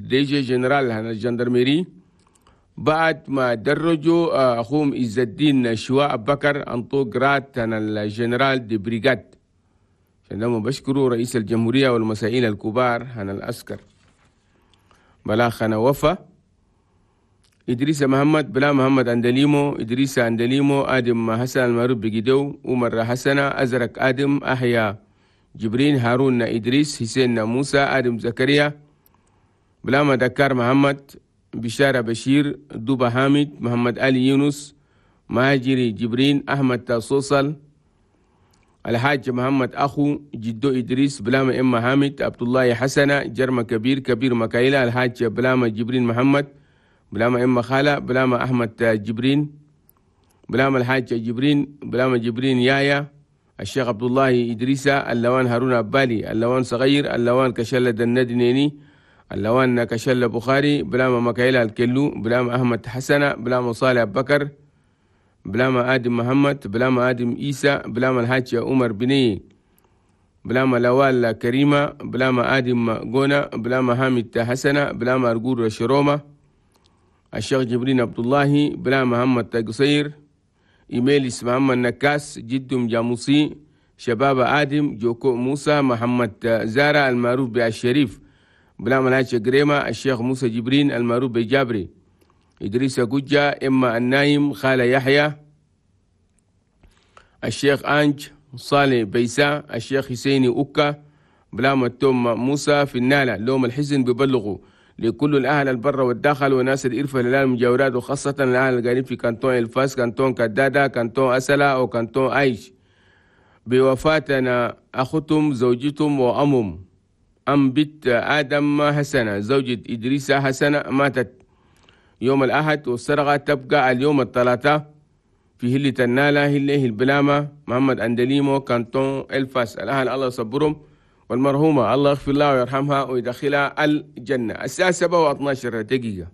DG général هنا ال gendarmerie، بعد ما درجوا أخوهم عز الدين شواء بكر أنطو grade هنا ال général de brigade. عندما بشكروا رئيس الجمهورية والمسائل الكبار هنا العسكر. بلاغ هنا وفا إدريس محمد بلا محمد أندليمو، إدريس أندليمو، آدم حسن المعروف بجدو، عمر حسن، أزرق آدم، أحيا جبرين، هارون إدريس، حسين موسى، آدم زكريا، بلاما دكار محمد، بشارة بشير، دوبا حامد، محمد علي يونس، مهاجري جبرين، أحمد صوصل، الحاج محمد أخو جدو إدريس، بلاما إما حامد، عبد الله حسنة، جرم كبير، كبير مكايلة، الحاج بلاما جبرين محمد، بلاما إما خالة، بلاما أحمد جبرين، بلاما الحاج جبرين، بلاما جبرين يايا، الشيخ عبد الله إدريسة، اللوان هارون أبالي، اللوان صغير، اللوان كشلة الندنيني، اللوان كشلة بخاري، بلاما مكايلة الكلو، بلاما أحمد حسنة، بلاما صالح بكر، بلاما آدم محمد، بلاما آدم إيسى، بلاما الحاج عمر بني، بلاما لوال كريمة، بلاما آدم جونا، بلاما حامد حسنة، بلاما أرجور شرومة، الشيخ جبرين عبد الله، بلاما محمد قصير، إيميليس محمد نكاس، جدهم جاموسي، شباب آدم، جوكو موسى، محمد زارة المعروف بالشريف، بلاما الحاج قريمة، الشيخ موسى جبرين المعروف بجابري، إدريس جوجا، إما النايم، خالة يحيى، الشيخ أنج صالح بيسا، الشيخ حسيني أوكا، بلاما التوم موسى في النالة. لوم الحزن ببلغوا لكل الأهل البر والداخل وناس الإرفة للأهل المجاورات، وخاصة الأهل القريب في كانتون الفاس، كانتون كدادة، كانتون أسلا، أو كانتون أيش، بوفاتنا أختهم زوجتهم وأمهم أم بنت آدم حسنة زوجة إدريس حسنة، ماتت يوم الأحد، والسرقة تبقى اليوم الثلاثاء في هلة النالة، هله البلامة، محمد أندليمو، كانتون الفاس. الأهل الله يصبرهم، والمرحومة الله يغفر لها ويرحمها ويدخلها الجنة. الساعة 7:12.